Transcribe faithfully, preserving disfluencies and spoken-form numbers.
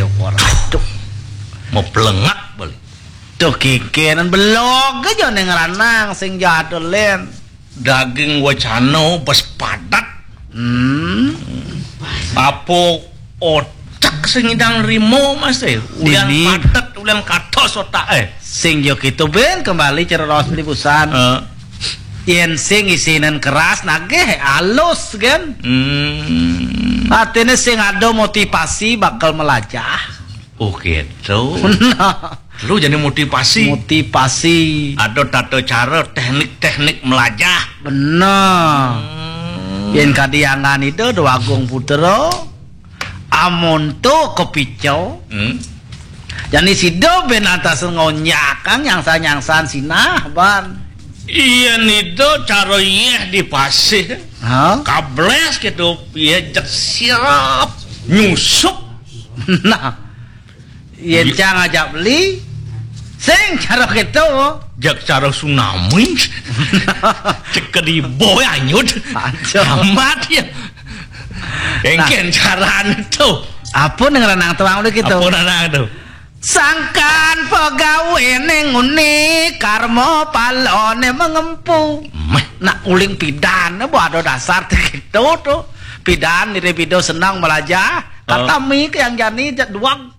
Aduh. Mau pelengak balik. Tuh kikenan belog aja neng ranang sing jadul, Lén. Daging wacana bes padat. Hmm. Apa otak sing idang rimo, Mas, eh? Ulian padat, ulian katos otak, eh. Sing yo gitu, Ben, kembali ceros beli busan. Eh. Yen sing isinan keras, nagih alus, kan? Hmm. Artinya sing ada motivasi bakal melajah. Oh, gitu. Nah. Lu jadi motivasi. Motivasi. Ada tata cara, teknik-teknik melajah. Bener. Hmm. Yen kadiangan itu Dewa Agung Putra, amun tu kepico. Hmm. Jani sida ben antas ngonyak kang nyangsan-nyangsan sinah, Ban. Iya, nido cara yeh di pasih. Hah? Kables gitu, iya, jek siap nyusup. Nah, yen cang ajak beli, sing cara gitu. Jak cara tsunami. Cek ke di boy anyut. Aja. Amat ya. Engken carane tuh. Apa nang ranang tuang udah gitu? Apa ranang tuh? Sangkan pegawene nguni, karma palane mengempu. Meh. Nak uling pidan, bo ada dasar gitu tuh. Pidan, nire pido senang melajah. Kata mi ke yang jani jak duang.